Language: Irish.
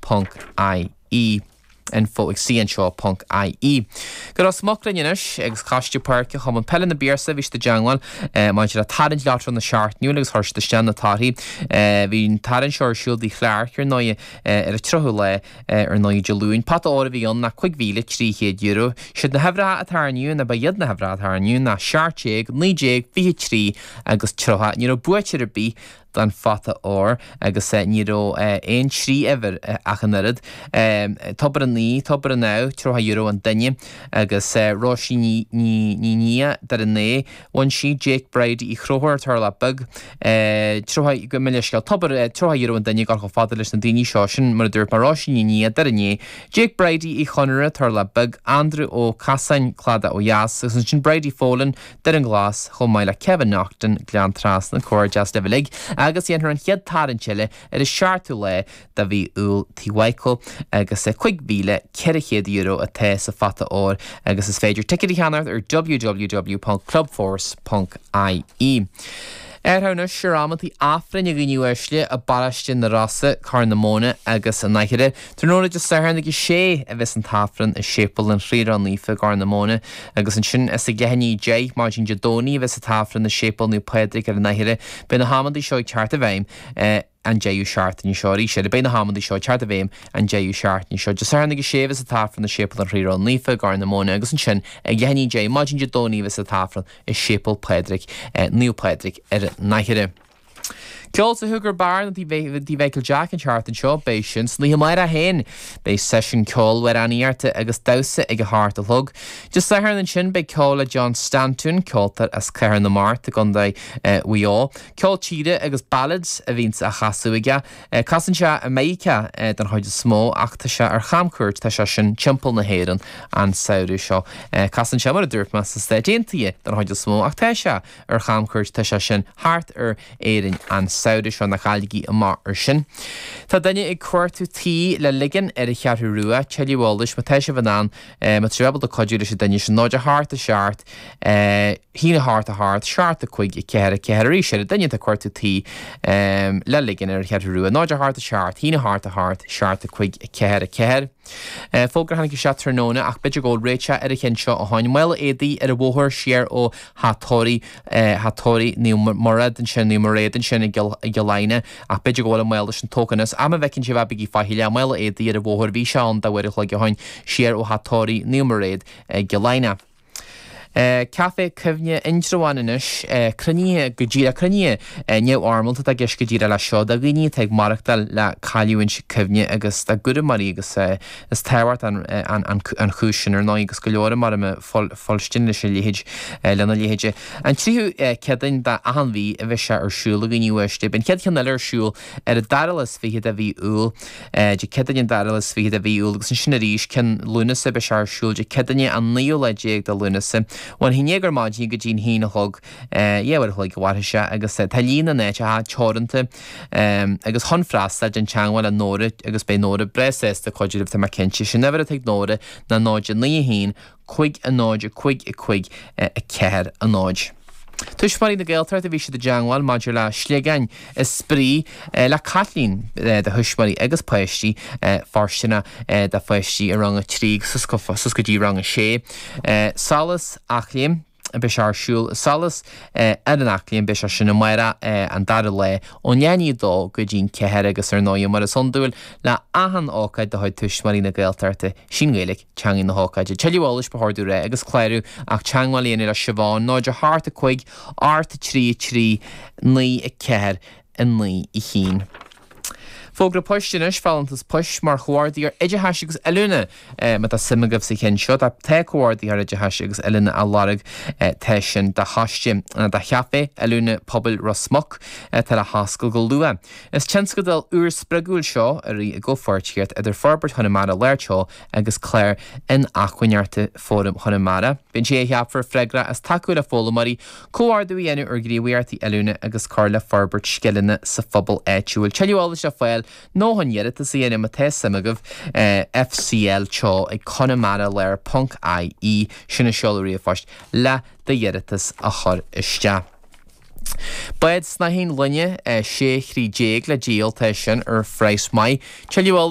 Ponc IE. Info ag cnseo ponc IE. Go Ros Muc linn anois agus Coiste Páirce Chumann Peile na bPiarsaigh bhí siad i dteangmháil maidir le tarraingt leabhar na seachtainiúil agus chuir siad isteach na torthaí. Bhí an tarraingt seo ar siúl i dTigh Chlarke ar ndóigh ar an 30ú lá ar ndóigh Dé Luain. Pota óir a bhí ann ná €5,300. Siad na huimhreacha atá inniu ná ba iad na huimhreacha atá inniu ná 17, 19, 23 agus 30. Ní raibh buaiteoir ar bith don phota óir agus ní raibh aon trí uimhir ach an oiread. Tobar an Aoidh, Tobar an Ádh, €30 an duine agus Róisín Ní Nia, Doire an Aodh, bhain sí, Jake Bridie Uí Chonchúir, Turlach Beag, 30, gabh mo leithscéal, Tobar, €30 an duine ag dul chomh fada leis na daoine seo, sin mar a dúirt mé, Róisín Ní Nia, Doire an Aodh, Jake Bridie Uí Chonaire, Turlach Beag, Andrew Ó Casáin, Cladach ó Dheas, agus ansin Bridie Folan, Doire Glas, chomh maith le Kevin Naughton, Gleann Trasna, Comhghairdeas libh uilig, agus dhéanfar an chéad tarraingt eile ar an seachtú lá de mhí Iúil Tigh Mhichael agus €5,400 atá sa phota óir agus is féidir ticéid a cheannacht ar www.clubforce.ie. Athrú anois ar amantaí Aifrinn a dhaoine uaisle i bParóiste na Rosa, Corr na Móna agus an Fhairche. Tráthnóna Dé Sathairn ag a sé a bheas an tAifreann i Séipéal an Chroí Ró-Naofa i gCorr na Móna agus ansin is ag leath i ndiaidh 10 maidin Dé Domhnaigh a bheas an tAifreann i Séipéal Naomh Pádraig ar an Fhairche. Beidh na hamantaí seo ag teacht i bhfeidhm an deireadh seachtaine seo arís eile. Beidh na hamantaí seo ag teacht i bhfeidhm an deireadh seachtaine seo. Dé Sathairn ag a sé a bheas an tAifreann i Séipéal an Chroí Ró-Naofa i gCorr na Móna agus ansin ag leath i ndiaidh 10 maidin Dé Domhnaigh a bheas an tAifreann i Séipéal Pádraig, Naomh Pádraig ar an Fhairche. Ceol sa Sugar Bar nó Tigh Mhichael Jack an tseachtain seo, beidh sin san oíche amárach féin. Beidh seisiún ceoil, amhránaíochta agus damhsa ag a hocht a chlog. Dé Sathairn ansin beidh ceol le John Stanton, ceoltóir as Cathair na Mart i gContae Mhaigh Eo. Ceol tíre agus ballads a bhíonns á chasadh aige. Casann sé i Meiriceá den chuid is mó ach tá sé ar chamchuairt, tá sé sin timpeall na hÉireann an samhradh seo. Casann sé, mar a dúirt mé, sna Stáit Aontaithe den chuid is mó ach tá sé ar chamchuairt, tá sé sin thart ar Éirinn an samhradh seo, ná cailligí amach ar sin. Tá duine ag cuartú tí le ligean ar an Cheathrú Rua, tuilleadh eolais má tá sibh in ann, má tá sibh ábalta cuidiú leis an duine sin, 0 8 7 1 8 8 7 5 4 4 arís eile, duine atá ag cuartú tí le ligean ar an Cheathrú Rua, 0 8 7 1 8 8 7 5 4 4. Fógra a tháinig isteach tráthnóna ach b'fhéidir go bhfuil réiteach ar an cheann seo ó shoin. Mála éadaí ar an bhóthar siar ó Theach Tórraimh, Theach Tórraimh Naomh Mairéad ansin, Naomh Mairéad ansin i gCill Aidhne ach b'fhéidir go bhfuil an mála sin tógtha anois. Ach má bhfeiceann sibh é bígí faichilleach. Mála éadaí ar an bhóthar, bhí sé ann dá uair a chloig ó shoin, siar ó Theach Tórraimh Naomh Mairéad i gCill Aidhne. Caife Cuimhne Indreabhán anois, cruinnithe go díreach, cruinnithe neamhfhoirmeálta atá i gceist go díreach leis seo do dhaoine atá ag maireachtáil le cailliúint cuimhne agus dá gcúramóirí agus is tábhachtach an chúis sin ar ndóigh agus go leor mar a fuilstin leis a leithéid, lena leithéid. An tríú Céadaoin d'achan mhí a bheidh sé ar siúl a dhaoine uaisle. Beidh an chéad cheann eile ar siúl ar an dara lá is fiche de mhí Iúil. Dé Céadaoine an dara lá is fiche de mhí Iúil agus ansin arís ceann Lúnasa beidh sé ar siúl Dé Céadaoine an naoú lá déag de Lúnasa. Ón haon déag ar maidin go dtí an haon a chlog, yeah, uair a chloig a mhairfidh sé agus tá líon na n-áiteacha teoranta agus chun freastal déan teagmháil le Nóra agus beidh Nóra breá sásta cuidiú libh tá mé cinnte. Sin uimhir atá ag Nóra ná 0 9 1 5 0 5 5 4 0. Tuismitheoirí na Gaeltachta bhí siad i dteangmháil maidir le sliogáin is spraoi le Caitlín do thuismitheoirí agus páistí fóirsteanach do pháistí i rang 3 suas go dtí rang 6. Solas Eachléim Beidh sé ar siúl i Solas ar an Eachléim, beidh sé sin amárach an dara lá ón leath i ndiaidh a dó go dtí an ceathair agus ar ndóigh mar is iondúil le achan ócáid de chuid Tuismitheoirí na Gaeltachta, sí an Ghaeilge teangaidh na hócáide. Tuilleadh eolais ba chóir domh a rá agus clárú ach teagmháil a dhéanamh le Siobhán 0 8 5 8 3 3 9 4 9 1. Fógra poist anois, folúntas poist mar Chomhordaitheoir Oideachais agus Oiliúna. Má tá suim agaibh sa cheann seo, tá Comhordaitheoir Oideachais agus Oiliúna á lorg, tá sin do choiste, do Chaifé Oiliúna Pobail Ros Muc atá le hoscailt go luath. Is tionscadal úr spreagúil seo a rith i gcomhpháirtíocht idir Forbairt Chonamara Láir Teo agus Clár Inacmhainneachta Fóram Chonamara. Beidh an té a cheapfar freagrach as tacú le foghlaimeoirí, comhordú a dhéanamh ar ghníomhaíochtaí oiliúna agus cur le forbairt scileanna sa phobal áitiúil. Tuilleadh eolais le fáil nó chun iarratas a dhéanamh má tá suim agaibh, FCL Teo ag conamaralair ponc ie, sin an seoladh ríomhphoist le d'iarratas a chur isteach. Bád snáithín loinge 16 throigh le díol, tá sin ar phraghas maith. Tuilleadh eolais.